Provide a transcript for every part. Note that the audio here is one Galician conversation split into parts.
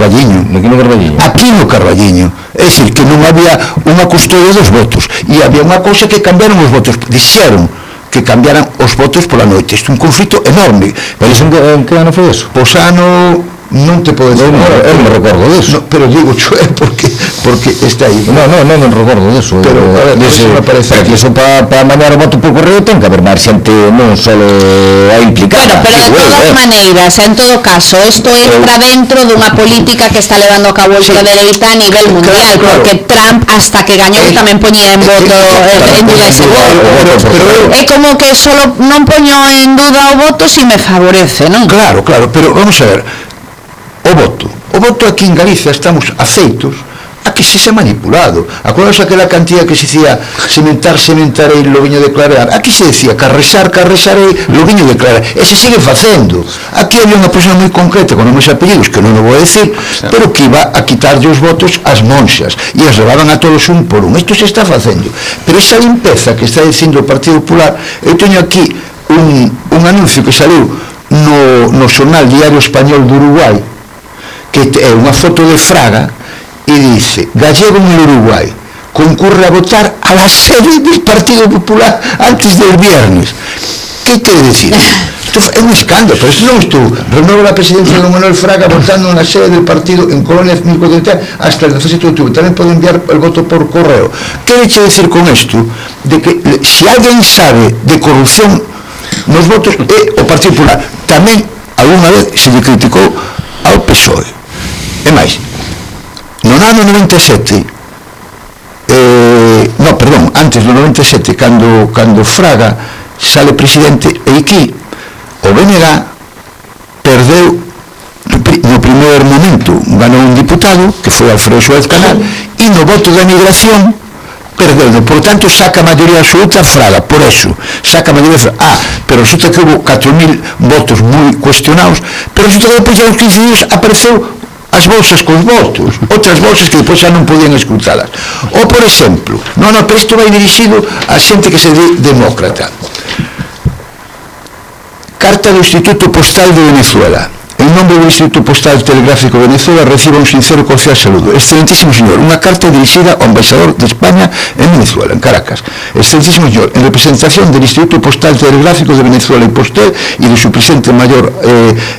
Carballiño. Aquí no Carballiño. É dicir, que non había unha custodia dos votos. E había unha cousa que cambiaron os votos. Dixeron que cambiaran os votos pola noite. Isto é un conflito enorme. Pero en que ano foi eso? Pois ano... non te podo decir, eu me recordo disso, pero digo porque está aí. Non recordo disso, pero a ver, eso me parece que eso para mandar o voto por correo ten que haber máis xente, non só a implicada. Bueno, pero de todas maneiras, en todo caso, isto entra dentro dunha política que está levando a cabo a ultradereita a nivel mundial, porque Trump, hasta que gañou, tamén poñía en voto en duda ese voto. É como que solo non poño en duda o voto si me favorece, non? Claro, pero vamos a ver, o voto aquí en Galicia estamos afeitos a que se manipulado. Acordaos aquela cantidad que se dicía sementarei, loguiño declarar. Aquí se decía carresarei, loguiño declarar, e se sigue facendo. Aquí había unha persona moi concreta con nomes e apellidos, que non o vou decir, pero que iba a quitarlle os votos ás monxas e as levaban a todos un por un. Isto se está facendo, pero esa limpeza que está dicindo o Partido Popular, eu teño aquí un anuncio que saliu no xornal Diario Español do Uruguai, que é unha foto de Fraga e dice: gallego en Uruguai concurre a votar a la sede del Partido Popular antes del viernes. ¿Qué quiere decir? Esto é un escándalo, pero esto non estuvo. Renueva la presidencia de Manuel Fraga votando en la sede del partido en Colonia 530 hasta el 17 de octubre. También puede enviar el voto por correo. ¿Qué quiere decir con esto? De que si alguien sabe de corrupción nos votos é o Partido Popular. Tamén alguna vez se lle criticou ao PSOE. E máis, no ano 97, antes do 97, cando Fraga sale presidente, e aquí o BNG perdeu no primeiro momento, ganou un diputado que foi Alfredo Suárez Canal, e no voto da migración perdeu, por tanto saca a maioría absoluta Fraga, por eso saca a maioría Fraga. Pero resulta que hubo 4.000 votos moi cuestionados, pero resulta que depois de uns 15 días apareceu as bolsas cos votos, outras bolsas que depois xa non podían escrutalas. Ou, por exemplo, pero isto vai dirixido a xente que se di demócrata. Carta do Instituto Postal de Venezuela. En nombre do Instituto Postal Telegráfico de Venezuela reciba un sincero e cordial saludo. Excelentísimo señor, unha carta dirixida ao embaixador de España en Venezuela, en Caracas. Excelentísimo señor, en representación del Instituto Postal Telegráfico de Venezuela y Postel y de su presidente mayor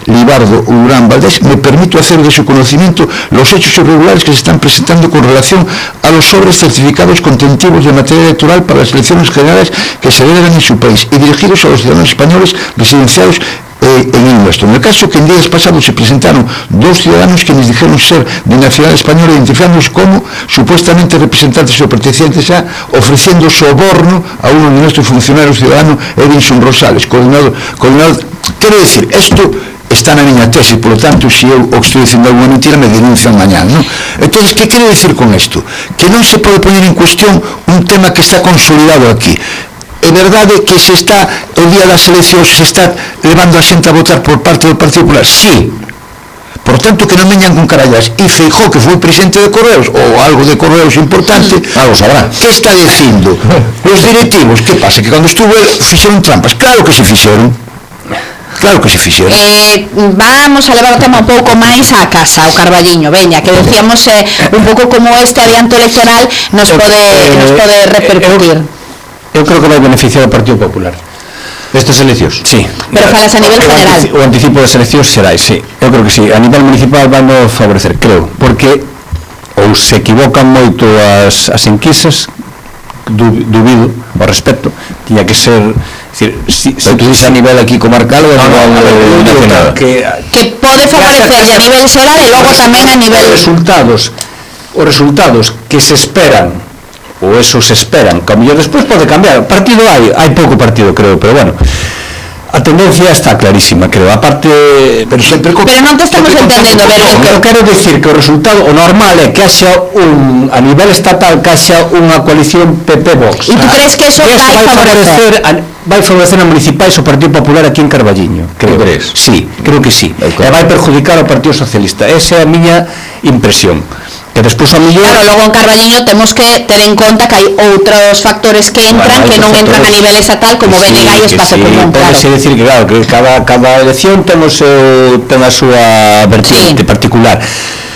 Libardo Urán Valdés, me permito hacer de su conocimiento los hechos irregulares que se están presentando con relación a los sobres certificados contentivos de materia electoral para las elecciones generales que se celebran en su país y dirigidos a los ciudadanos españoles residenciados en el nuestro. En el caso que en días pasados se presentaron dos ciudadanos quienes dijeron ser de nacionalidad española, identificándolos como supuestamente representantes o pertenecientes a, ofreciendo soborno a uno de nuestros funcionarios ciudadanos, Edinson Rosales, coordinador. Quiero decir, esto está na miña tese, por lo tanto, se eu o estou dicindo alguna mentira, me denuncian mañana, ¿no? Entonces, ¿qué quiero decir con esto? Que non se pode poner en cuestión un tema que está consolidado aquí. É verdade que se está, o día das eleccións, se está levando a xente a votar por parte do Partido Popular? Sí. Por tanto, que non veñan con carallas. E Feijóo, que foi presidente de Correos, ou algo de Correos importante, algo sabrá. Que está dicindo? Os directivos, que pasa? Que cando estuvo fixeron trampas. Claro que se fixeron. Vamos a levar o tema un pouco máis á casa, ao Carballiño, veña, que decíamos un pouco como este adianto electoral nos pode repercutir. Eu creo que vai beneficiar o Partido Popular estas eleccións, sí. Pero falas a nivel general. O anticipo das eleccións xerais, sí. Eu creo que sí. A nivel municipal vai no favorecer, creo, porque ou se equivocan moito as enquisas, dubido ao respecto, tiña que ser, decir, se tú dices a nivel aquí comarcal ou a nivel nacional, que pode favorecer a nivel xeral e logo tamén a nivel os resultados que se esperan, ou eso se esperan, que a mellor despois pode cambiar. Partido hai pouco partido, creo, pero bueno, a tendencia está clarísima, creo, aparte, pero non te estamos entendendo, eu quero decir que o resultado, o normal é que haxa a nivel estatal, que haxa unha coalición PP-Vox. E tú crees que eso vai favorecer a municipais o Partido Popular aquí en Carballiño? Creo. Sí, creo que sí. E vai perjudicar ao Partido Socialista. Esa é a miña impresión. Que despois a millón... Claro, logo en Carballiño temos que ter en conta que hai outros factores que entran, que non entran a nivel estatal, como BNG e Espazo Común, claro. Pode decir que, claro, que cada elección ten a súa vertiente particular.